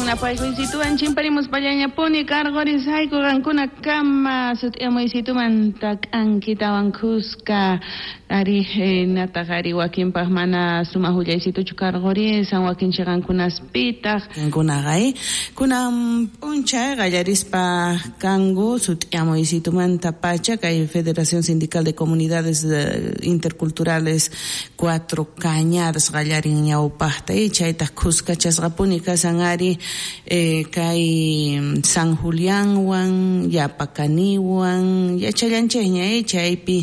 Napaykuychituwan chimparimuspallañapuni karqurisayku qankuna kama sut'iyamuysituman k'ankitawan khuska ari nataq ari wakinpaq mana sumaq willaysituchu karqurisan wakin chiqankunaspitaq Kunaqa kunan p'unchay qallarispa kanku sut'iyamuysitumantapacha kay Federación Sindical de Comunidades Interculturales Cuatro Cañadas qallarin ñawpaqta chaytaq khuskachasqapuni kasan ari kay San Julianwan Yapacaniwan yachallanchikña chaypi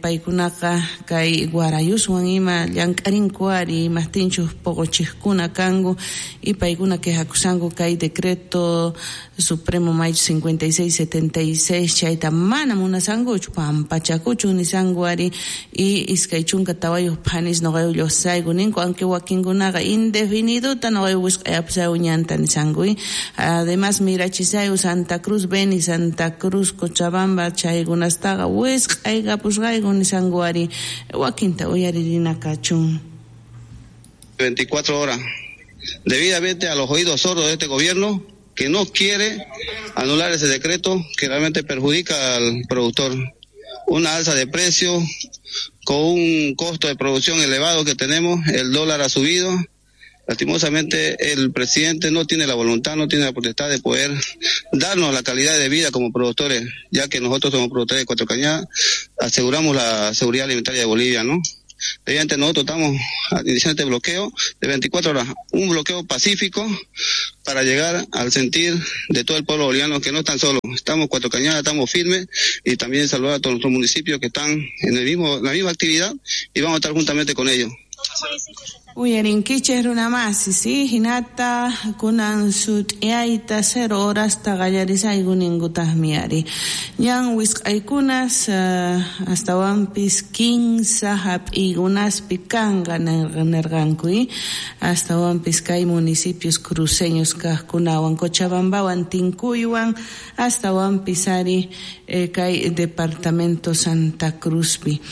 paykunaqa kay Guarayuswan ima llank'arinku ari imaqtinchus poqochiqkuna kanku y paykuna quejakusanku kay decreto supremo maychu 5676 chayta mana munasankuchu pampachakuchu nisanku ari y 24 phanis noqayu lluqsayku ninku aunque wakinkunaqa indefiniduta noqayu wisq'ayapusayku ñanta nisanku además mirachisayku Santa Cruz Beni Santa Cruz Cochabamba chaykunastaqa wisq'aykapusqayku nisanku ari wakinta uyaririna kachun. 24 horas debidamente a los oídos sordos de este gobierno que no quiere anular ese decreto que realmente perjudica al productor. Una alza de precio con un costo de producción elevado que tenemos, el dólar ha subido. Lastimosamente el presidente no tiene la voluntad, no tiene la potestad de poder darnos la calidad de vida como productores, ya que nosotros somos productores de Cuatro Cañadas, aseguramos la seguridad alimentaria de Bolivia, ¿no? Evidentemente nosotros estamos iniciando este bloqueo de 24 horas, un bloqueo pacífico para llegar al sentir de todo el pueblo boliviano que no están solos, estamos Cuatro Cañadas, estamos firmes y también saludar a todos nuestros municipios que están en la misma actividad y vamos a estar juntamente con ellos. Uyarinkichej runamasi, sí, hinata kunan sut'iyayta 0 horasta qallarisayku ninkutaqmi ari. Ñan wisq'aykunas astawanpis 15 hap'iykunaspi kanqa nirqanku astawanpis kay municipios cruceños kaqkunawan Cochabambawan Tinkuywan astawanpis ari kay departamento Santa Cruzpi.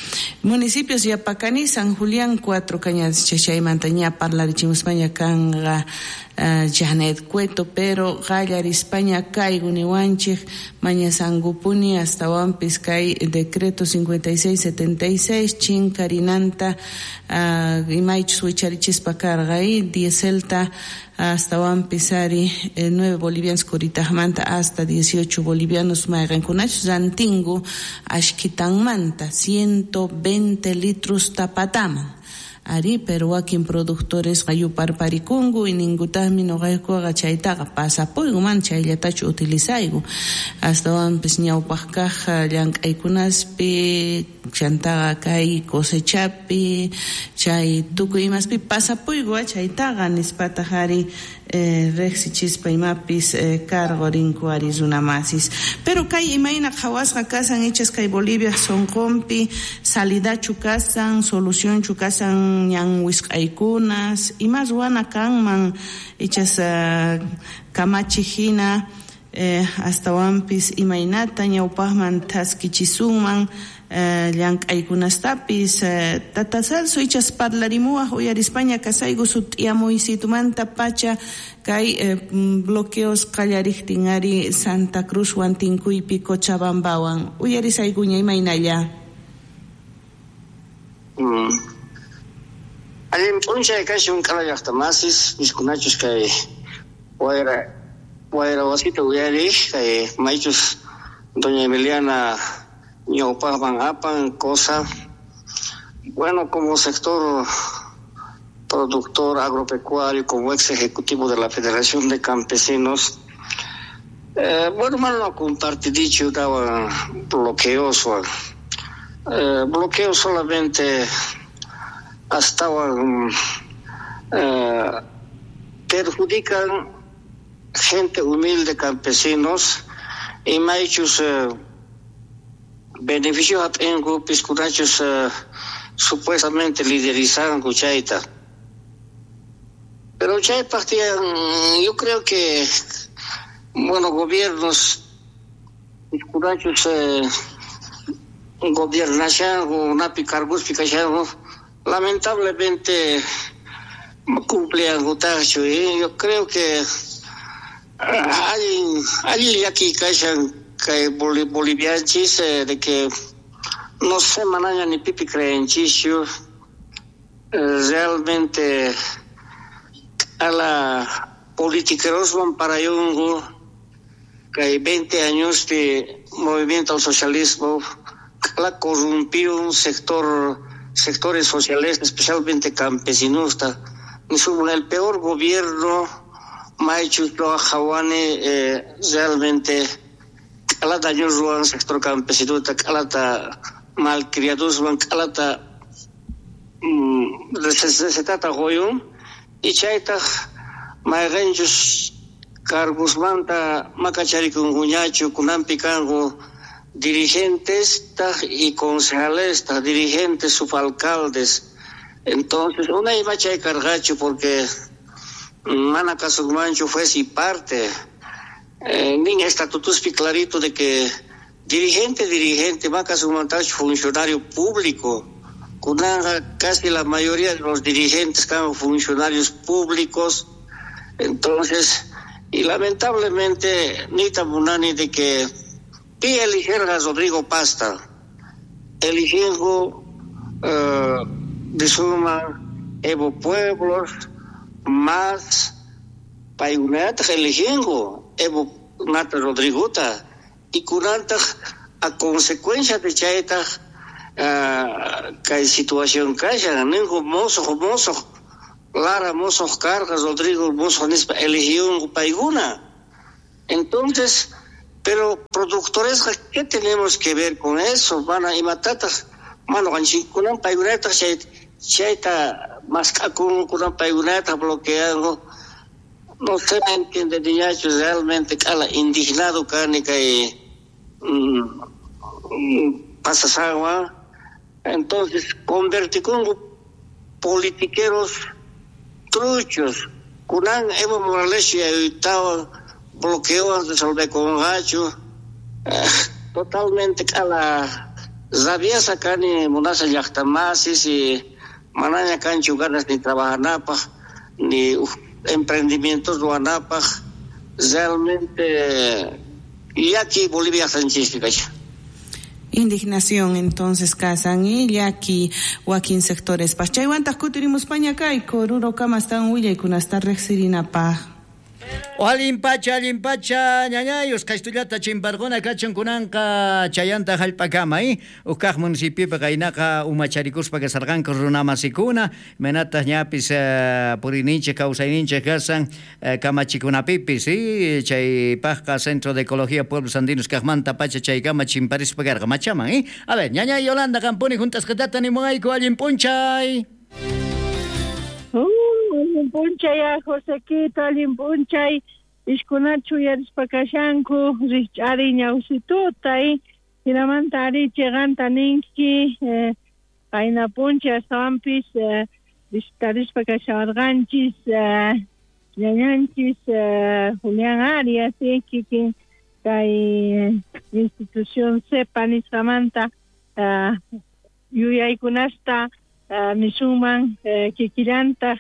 Municipios Yapacani, San Julián, Cuatro Cañadas, chachaymanta ña parlarichimuspaña kanqa Janet Cueto, pero qallarispaña kayku niwanchik mañasankupuni astawanpis kay decreto 5676 chinkarinanta imaychus wicharichispa karqa dieselta astawanpis ari 9 bolivianos kuritajmanta hasta 18 bolivianos mayqankunachus rantingu ashkitanmanta 120 litros tapataman. Ari, pero wakin productores yuparparikunku y ninkutaqmi noqaykuqa chaytaqa pasapuyku mana chayllatachu utilizayku astawanpis ñawpaq kaq llank'aykunaspi chantaqa kay cosechapi chay tukuy imaspi pasapuyku chaytaqa nispataq ari riqsichispa imapis cargo rinku ari runamasis. Pero kay imayna qhawasqa kasan ichas kay Bolivia sunqunpi salidachu kasan solucionchu kasan ñan wisq'aykunas ima ruwana kanman ichas kamachi hina astawanpis imaynata ñawpaqman thaskichisunman llank'aykunastapis Tata Celso ichas parlarimuwaq uyarispaña kasayku sut'iyamuysitumanta pacha kay bloqueos qallariqtin ari Santa Cruzwan Tinkuypi Cochabambawan uyarisaykuña imaynalla. Allin p'unchay kashun k'ala llaqtamasis piskunachus kay wayra wasita uyariq kay maychus doña Emiliana ñawpaqman apan cosa. Bueno, como sector productor agropecuario, como ex ejecutivo de la Federación de Campesinos, bueno, malo compartidicho daba bloqueos, bloqueos solamente hasta perjudican gente humilde, campesinos, y maychus beneficios hap'inku piskunachus supuestamente liderizanku chayta. Pero chaypaq tiyan, yo creo que, bueno, gobiernos piskunachus gobernashanku napi cargospi kashanku lamentablemente cumpliankutaqchu. Yo creo que Allin allin llakiy kashan kay Bolivianchis de que no sé manaña ni pipi creenchischu realmente a la politiqueroswan parayungu kay 20 años de movimiento al socialismo la corrompió un sectores sociales, especialmente campesinos. El peor gobierno Maichu Jawane realmente k'alata daño ruwan sector campesinota, k'alata malcriadoswan, k'alata recetata qoyun y chaytaj mayqenchus cargosmanta makacharikunkuñachu kunanpi kanku dirigentes y concejales, dirigentes, subalcaldes. Entonces, una iba chay cargacho porque mana kasukmanchu fue si parte. Nin estatutos clarito de que dirigente, makasukmantachu funcionario público. Kunanga casi la mayoría de los dirigentes eran funcionarios públicos. Entonces, y lamentablemente, ni tamunani de que pi eligieron a Rodrigo Pasta, eligiendo de suma Evo Pueblos, más payunata eligiendo Evo Nata Rodrigota, y kunanta a consecuencia de chaita kay situación kashan, ningo mozo, Lara mozo carga, Rodrigo mozo nispa eligió payguna. Entonces, pero productores, ¿qué tenemos que ver con eso? Van a imatatas, mano, kunan paygunata, chayta mascakun, kunan paygunata bloqueando. No se me entiende, niñacho, realmente cala indignado kani kay pasas agua. Entonces, converticungo politiqueros truchos. Kunan Evo Morales y ayutaba bloqueo resolver con gacho totalmente a la kani munasa llaqtamasis y manaña kanchu ganas ni trabajanapaj ni emprendimientos ruanapaj realmente y aquí Bolivia Sánchez. Indignación entonces kasan y llaki wakin sectores paj chaywantaq kutirimuspaña kayku Oruro kamastan willaykunasta riqsirinapaj. Allin pacha, ñañayus, kaystullata chimparquna kachan kunanqa chayanta hallp'akama, Uqkaq municipiopi qaynaqa umacharikuspa kasarqanku runamasikuna, imaynataq ñapis puriyninchik kawsayninchik kasan kamachikunapipis, chaypaqqa Centro de Ecología Pueblos Andinos kaqmanta pacha chaykama chimparispa karqa machaman, A ver, ñañay Yolanda qampuni juntasqatata nimuwayku allin p'unchay. Allin p'unchay, Josequito, allin p'unchay, ishkunachu uyarispa kashanku, rikch'ari ñawsituta, hinamanta ari chiqanta ninki, qayna p'unchay astawanpis visitarispa kashawarqanchis, ñañanchis Julián Arias, kikin kay institución CEPA nisqamanta yuyaykunasta nisunman kikillantaq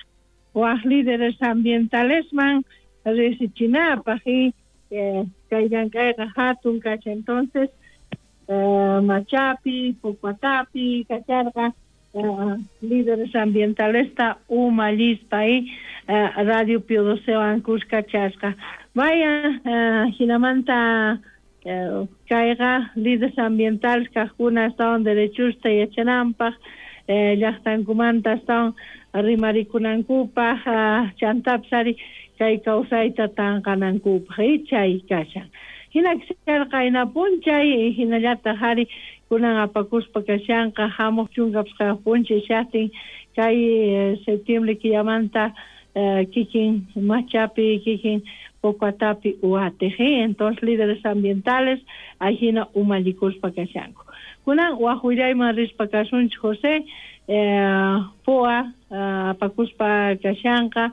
waj líderes ambientalesman riqsichinapaq y kay llank'ayqa hatun kacha. Entonces Machapi, Pucuatapi kacharqa líderes ambientalesta umallispa y Radio Pío XII kuskachasqa. Vaya hinamanta kayqa líderes ambientales kaqkuna astawan derechusta yachananpaq llaqtankumanta astawan rimarikunankupaq chantapis ari kay kawsayta tanqanankupaq chay kashan. Hina kasharqa hina p'unchay hinallataq ari kunan apakuspa kashanqa hamuq chunka pisqayuq p'unchay shaqtin kay septiembre killamanta kikin Machapi, kikin Pocuatapi uatiq. Entonces líderes ambientales ahina umallikuspa kashanku. Kunan waj willayman rispa kasunchik José, POA apakuspa kashanqa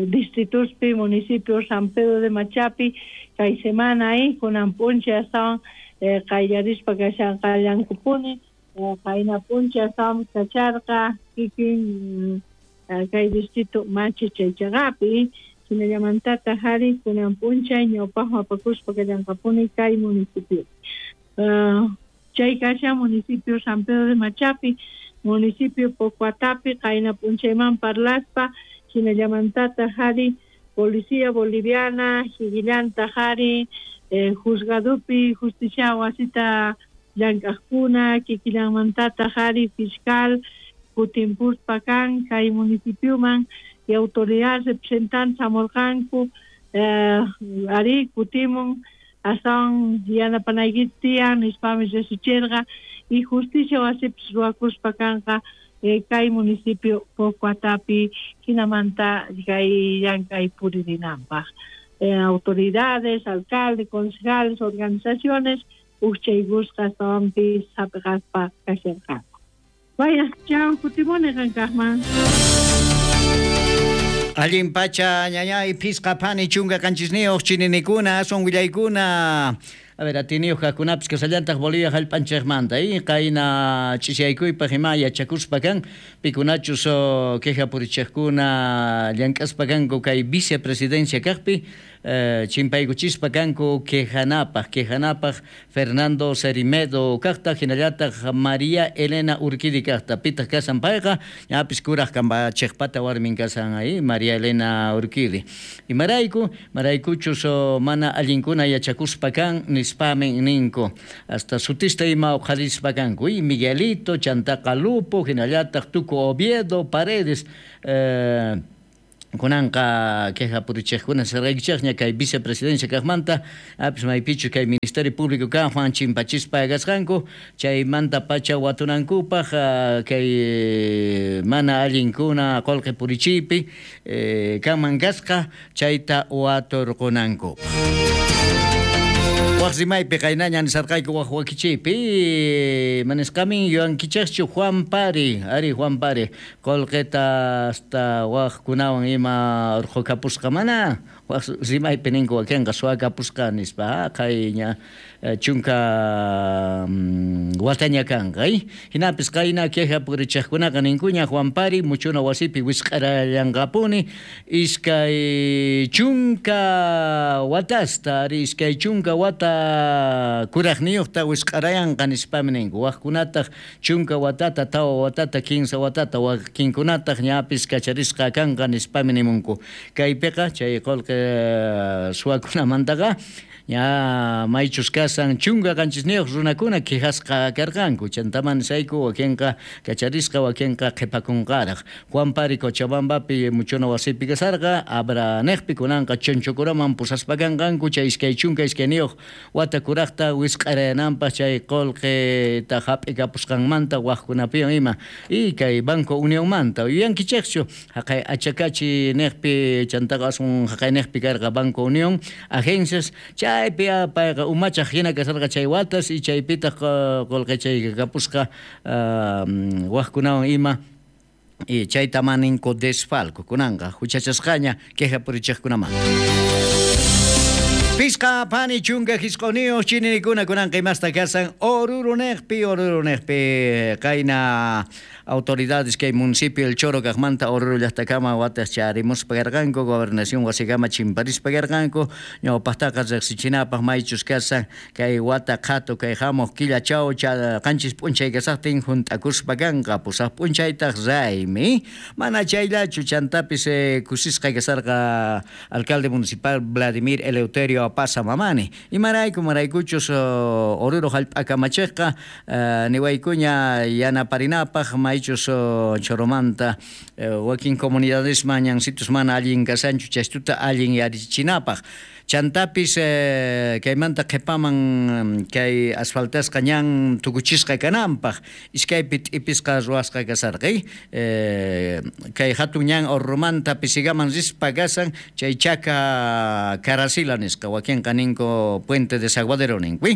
distrituspi municipio San Pedro de Machapi kay semana kunan p'unchay astawan qayllarispa kashanqa llankupuni qayna p'unchay astawan kacharqa kikin kay distrito Machi chaychaqapi. Hinallamantataq ari kunan p'unchay ñawpaqman apakuspa kallanqapuni kay municipio. Chay kashan municipio San Pedro de Machapi, municipio Pocuatapi, qayna p'unchayman parlaspa, hinallamantataq ari policía boliviana, higillantaq ari juzgadupi justicia wasita llank'aqkuna, kikillanmantataq ari fiscal kutimpuspa kan kay municipioman y autoridad representante hamurqanku ari kutimun astawan yanapanaykita tiyan nispami riqsichirqa y justicia wasipis ruwakuspa kanqa kay municipio Pocuatapi hinamanta kay llank'ay puririnanpaq. Autoridades, alcalde, concejales, organizaciones ujchaykusqa astawanpis hap'iqaspa kasharqanku. Vaya, chao, kutimuni qankaqman. Allin pacha ñañay phisqa phani chunka qanchisniyuq chininikuna aswan willaykuna. A ver, atiniyuq kaqkunapis kasallantaq Bolivia hallp'anchikmanta qayna ch'isyaykuypaq ima yachakuspa kan pikunachus queja purichiqkuna llank'aspa kanku kay vicepresidencia kaqpi chimpaykuchispa kanku quejanapaq Fernando Cerimedo kaqta hinallataq María Elena Urquidi kaqta pitaq kasan payqa ñapis kuraq kamachikpata warmin kasan ahí María Elena Urquidi. Imarayku maraykuchus mana allinkuna yachakuspa kan nispamin ninku hasta sutista ima uqharispa kanku y Miguelito chantaqa Lupo hinallataq Tuco Oviedo Paredes kunanqa queja purichiqkuna sirqaykichikña kay vicepresidencia kaqmanta apis maypichus kay Ministerio Público kaqman chimpachispa kasqanku chaymanta pacha watunankupaq kay mana allinkuna qullqi purichiypi kanman kasqa chayta waturqunankupaq. Waq rimaypi qaynaña nisarqayku waq wakichiypi manisqamin yuyankichikchu Juan Pari, ari Juan Pari qullqita hasta waqkunawan ima urqukapusqa mana waq rimaypi ninku wakinqa suwakapusqa nispa qayña chunka wataña kanqa hinapis qayna queja purichiqkunaqa ninkuña Juan Pari muchuna wasipi wisq'arallanqapuni iskay chunka watasta ari iskay chunka wata kuraqniyuqta wisq'arayanqa nispami ninku waqkunataq chunka watata tawa watata 15 watata wakinkunataq ñapis kacharisqa kanqa nispami nimunku kaypiqa chay qullqi suwakunamantaqa ña maychus kasan chunka qanchisniyuq runakuna quejasqa karqanku chantaman nisayku wakinqa kacharisqa wakinqa qhipakunqaraq Juan Pari Cochabambapi muchuna wasipi kasarqa Abraniqpi kunanqa Chonchocuraman pusaspa kanqanku chay iskay chunka iskayniyuq wata kuraqta wisq'arayananpaq chay qullqita hap'ikapusqanmanta waqkunapiwan ima y kay Banco Unionmanta yuyankichikchu haqay Achacachi niqpi chantaqa aswan haqayniqpi karqa Banco Unión agencias chaypi payqa umachaq hina kasarqa chay watas y chaypitaq qullqi chay kapusqa waqkunawan ima y chayta maninku desfalco kunanqa huchachasqaña queja purichiqkunamanta. Pisqa pani chunka hisq'uniyuq chininikuna kunanqa imasta kasan Oruro niqpi qayna autoridades kay municipio El Choro kaqmanta Oruro llaqtakama watas charimuspa karqanku gobernación wasikama chimparispa karqanku ñawpaqtaqa riqsichinapaq maychus kasan kay wata qhatu kay hamuq killachaw qanchis p'unchay kasaqtin hunt'akuspa kanqa pusaq p'unchaytaq raymi mana chayllachu chantapis kusisqa kasarqa alcalde municipal Vladimir Eleuterio Apaza Mamani imarayku maraykuchus Oruro hallp'akamachiqqa niwaykuña yanaparinapaq maychus Choromanta wakin comunidadesman ñansitus mana allin kasanchu chaystuta allin yarichinapaq chantapis kaymanta qhipaman kay asfaltasqa ñan tukuchisqa kananpaq iskaypi t'ipisqa ruwasqa kasarqa kay hatun ñan Oruromanta Pisigaman rispa kasan chay chaka Caracila nisqa wakinqa ninku Puente de Desaguadero ninku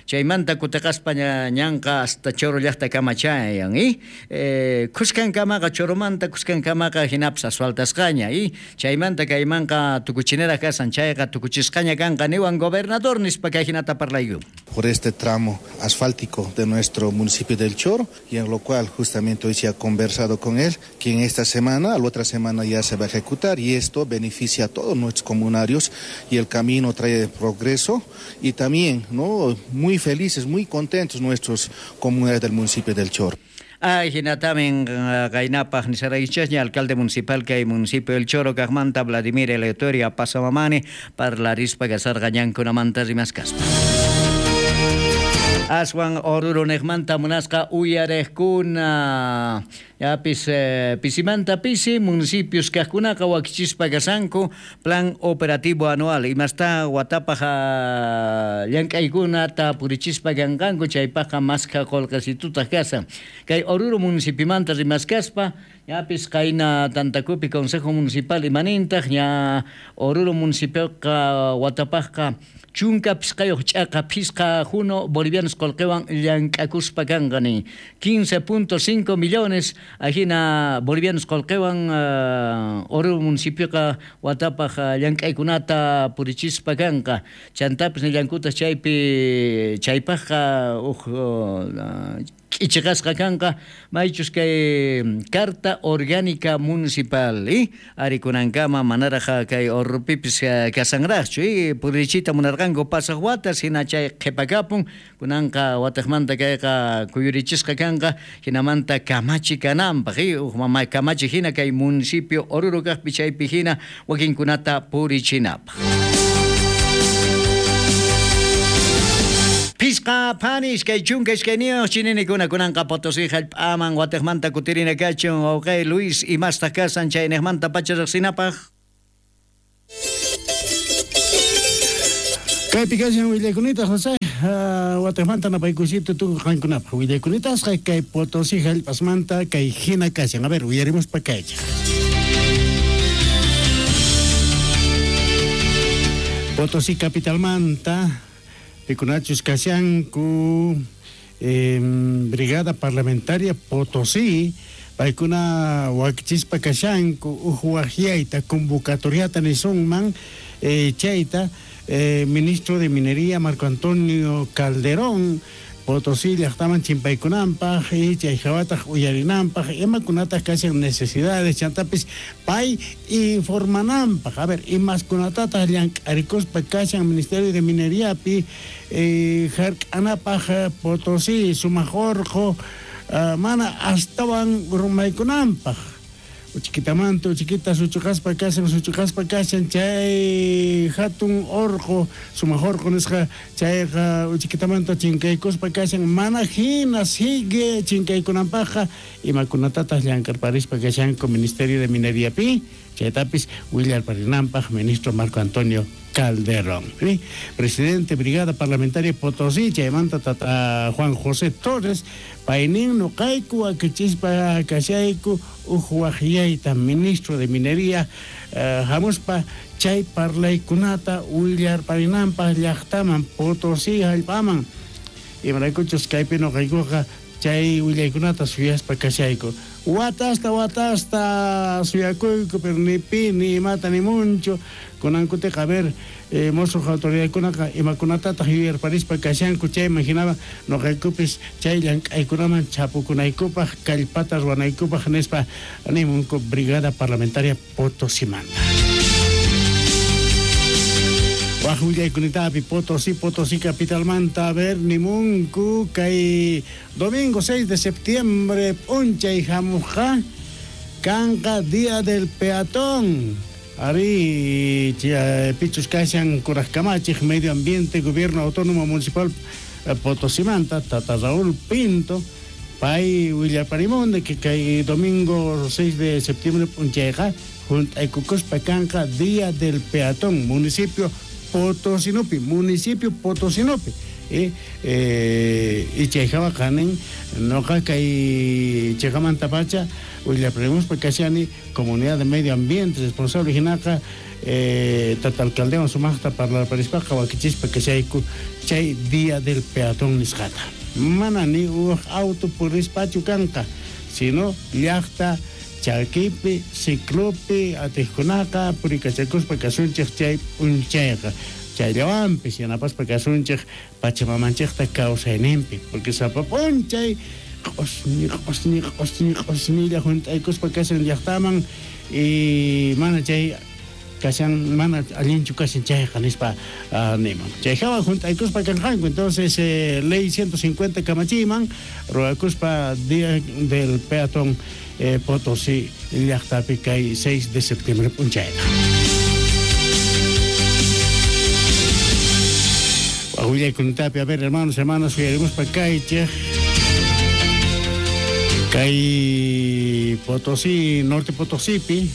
chaymanta kutiqaspa ñanqa hasta Choro llaqtakama chayan kuskankamaqa Choromanta kuskankamaqa hinapis asfaltasqaña chaymanta kaymanqa tukuchinera kasan chayqa tukuchisqaña kanqa niwan gobernador nispa kay hinata parlayku. por este tramo asfáltico de nuestro municipio del Choro, y en lo cual justamente hoy se ha conversado con él, que en esta semana, a la otra semana ya se va a ejecutar, y esto beneficia a todos nuestros comunarios y el camino trae progreso y también, ¿no?, muy felices, muy contentos nuestros comunarios del municipio del Choro. Ay, hinatamin qaynapaq nisaraykichasña alcalde municipal kay municipio del Choro kaqmanta Vladimir Eleuterio Apaza Mamani parlarispa kasarqa ñankunamanta rimaskaspa. Aswan Oruro neqmanta munasqa uyariqkuna yapis pisimanta pisi municipios kaqkunaqa wakichispa kasanku plan operativo anual imasta watapaq llank'aykunata purichispa kanqanku chaypaqqa maskha qullqisitutaq kasan kay Oruro municipimanta rimaskaspa yapis qayna tantakupi consejo municipal imanintaq ña Oruro municipioqa watapaqqa chunka pisqayuq ch'aqa phisqa juno bolivianos qullqiwan llank'akuspa kanqa nin 15.5 millones ajina bolivianos qullqiwan Oruro municipioqa watapaq llank'aykunata purichispa kanqa chantapis nillankuta chaypi chaypaqqa uj k'ichiqasqa kanqa maychus kay carta orgánica municipal arikunankama manaraq kay Orurupipis kasanraqchu purichita munarqanku pasaq watas hina chay qhipakapun kunanqa wataqmanta kayqa kuyurichisqa kanqa hinamanta kamachi kananpaq uj mama kamachi hina kay municipio Oruro kaqpi chaypi hina wakinkunata purichinapaq. Pisqa phani iskay chunka iskayniyuq chininikuna kunanqa Potosí hallp'aman watiqmanta kutirina kachun wawqay Luis imastaq kasan chayniqmanta pacha riqsinapaq. Kaypi kashan willaykunita José watiqmanta napaykusita tukuy qankunapaq willaykunitasqa kay Potosí hallp'asmanta kay hina kashan. A ver, uyarimuspa kaychaq. Potosí capitalmanta pikunachus kashanku Brigada Parlamentaria Potosí paykuna wakichispa kashanku uj waqyayta convocatoriata nisunman chayta ministro de Minería Marco Antonio Calderón Potosí llaqtaman chimpaykunanpaq y chay hawataq uyarinanpaq imakunataq kashan necesidades chantapis pay informananpaq a ver imaskunatataq llank'arikuspa kashan Ministerio de Mineriapi hark'anapaq Potosí sumaq urqu mana astawan rumaykunanpaq uchikitamanta uchiquita suchuqaspa kashan chay hatun orqu sumaq orqu nisqa chayqa uchikitamanta chinkaykuspa kashan mana hina sigue chinkaykunanpaqqa imakunatataq llank'arparispa kashanku Ministerio de Mineriapi chaytapis willarparinanpaq ministro Marco Antonio Calderón. ¿Sí? Presidente Brigada Parlamentaria Potosí, chaymanta tata Juan José Torres, paynin nuqayku akichispa kashayku uj waqyayta ministro de Minería hamuspa chay parlaykunata willarparinanpaq llaqtaman Potosí hallp'aman imaraykuchus kaypi nuqaykuqa chay willaykunata suyaspa kashayku watasta suyakuyku pero ni pi ni imata ni muncho kunankutiqa a ver mosuq autoridadkunaqa imakunatataq yuyarparispa kashanku chayman hinama nuqaykupis chay llank'aykunaman chapukunaykupaq kallpata ruwanaykupaq nispa nimunku Brigada Parlamentaria Potosimanta. Waj willaykunitapi Potosí capitalmanta a ver nimunku kay domingo 6 de septiembre p'unchay hamuqqa kanqa Día del Peatón. Ari pichus kashan kuraj kamachiq Medio Ambiente Gobierno Autónomo Municipal Potosimanta Tata Raúl Pinto pay willaparimun que kay domingo 6 de septiembre p'unchayqa junt'aykukuspa kanqa Día del Peatón municipio Potosinopi, municipio Potosinopi. Y chayjawa kanin noqa kay chayjamanta pacha willaprimuspa kashani comunidad de medio ambiente responsable hinaqa tata alcaldewan sumaqta parlarparispaqa wakichispa kashayku chay Día del Peatón nisqata. Mana ni uj auto purispachu kanqa sino llaqta chakipi ciclopi atijkunaqa purikachakuspa kasunchej chay p'unchayqa chayllawanpis yanapaspa kasunchej pachamamanchejta kawsayninpi porque sapa p'unchay q'osñi q'osñi q'osñi q'osñilla junt'aykuspa kashan llaqtaman y mana chay kashan mana allinchu kashan chayqa nispa niman chay hawa junt'aykuspa kanqanku entonces ley 150 kamachiyman ruwakuspa día del peatón Potosí llaqtapi kay 6 de septiembre p'unchayta. Willaykunatapi, a ver, hermanos, hermanas, uyarimuspa kaychej kay Potosí, Norte Potosipi,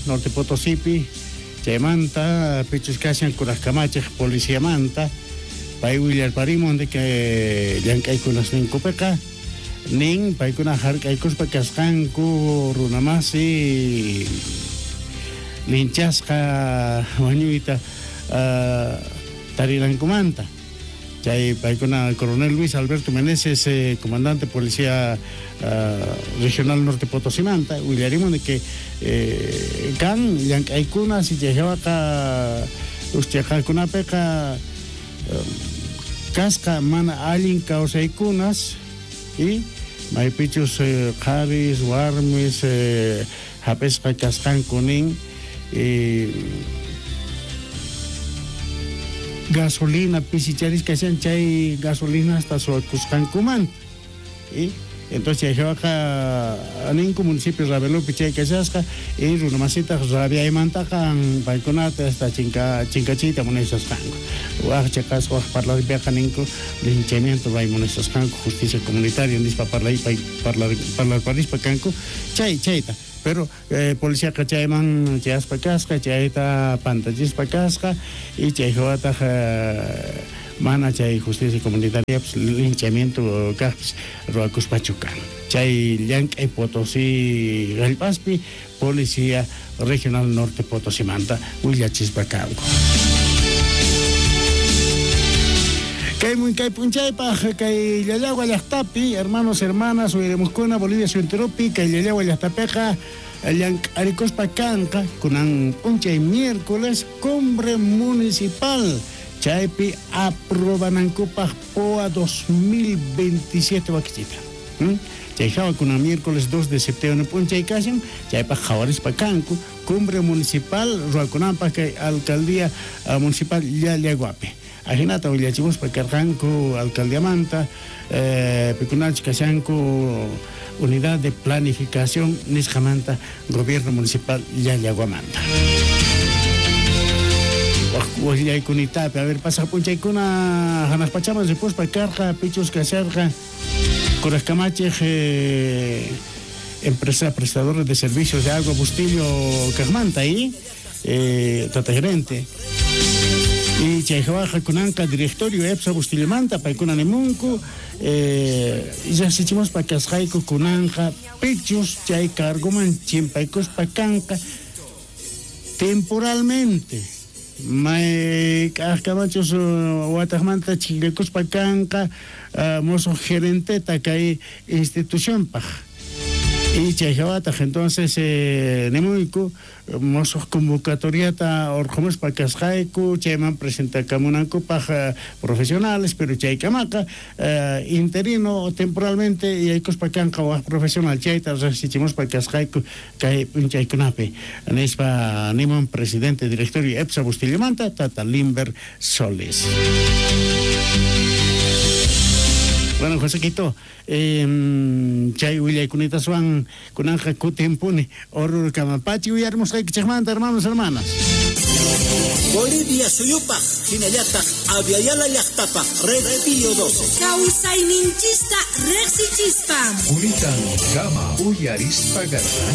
chaymanta pichus kashan kuraj kamachej policiamanta, pay willarparimun de que llank'aykunas ninkupiqa nin paykuna hark'aykuspa kasqanku runamasi linchasqa wañuyta tarirankumanta. Chay paykuna coronel Luis Alberto Meneses, comandante policía regional Norte Potosimanta, willarimun de que kan llank'aykuna si chaywaqa uschaqakunapiqa kasqa mana allin kawsaykunas y maypichus qharis warmis hap'isqa kasqanku nin gasolina pisicharis kashan chay gasolina hasta suwakusqankumanta y entonces chaywaqa ninku municipio Ravelopi chay kashasqa y runamasitaq rabiaymantaqa paykunata hasta chinkachiyta munashasqanku waj chaqasqa waj parlarpiqa ninku linchamiento ray munashasqanku justicia comunitaria nispa parlarparispa kanku chay chayta pero policiaqa chayman chayaspa kasqa chayta pantachispa kasqa y chay hawataq mana chay justicia comunitaria pues, linchamiento kaqpis ruwakuspachu kan chay llank'ay Potosí hallp'aspi policía regional Norte Potosimanta willachispa kanku. Kay p'unchaypaj kay Llallagua llaqtapi hermanos hermanas uyarimuskuna Bolivia suyuntirupi kay Llallagua llaqtapiqa llank'arikuspa kanqa kunan p'unchay miércoles cumbre municipal chaypi aprobanankupaj POA 2027 wakichita. Chay hawa kunan miércoles 2 de septiembre p'unchay kashan chaypaj qhawarispa kanku cumbre municipal ruwakunanpaj kay alcaldía municipal Llallaguapi. Ajinata willachimuspa karqanku alcaldiamanta pikunachus kashanku unidad de planificación nisqamanta gobierno municipal Llallaguamanta. Willaykunitapi, a ver, pasaq p'unchaykuna hanaq pachaman ripuspa karqa pichus kasharqa kuraj kamachej empresa prestadora de servicios de agua Bustillo kaqmanta y tata gerente. Y chay hawaqa kunanqa directorio EPSA Bustillamanta paykuna nimunku llaqsichimuspa kasqayku kunanqa pichus chay cargoman chimpaykuspa kanqa temporalmente may k'ajkamachus wataqmanta chikllakuspa kanqa mozo gerenteta kay institucionpaj. Y chay hawataq entonces nimuyku mozo convocatoriata orqhumuspa kasqayku chayman presentakamunankupaj profesionales pero chaykamaqa interino temporalmente yaykuspa kanqa waj profesional chayta riqsichimuspa kasqayku kay p'unchaykunapi nispa nimun presidente directorio EPSA Bustillamanta tata Limber Solis. Bueno, Josequito, chay willaykunitasuan kunanja kutimpuni Oruro kamapachi uyarimusqaykichikmanta hermanos hermanas. Bolivia suyupaj hinallataq Aviala llaqtapaj Red Pío 12. Kawsayninchista riqsichispa. Kunitan kama uyarispa garqa.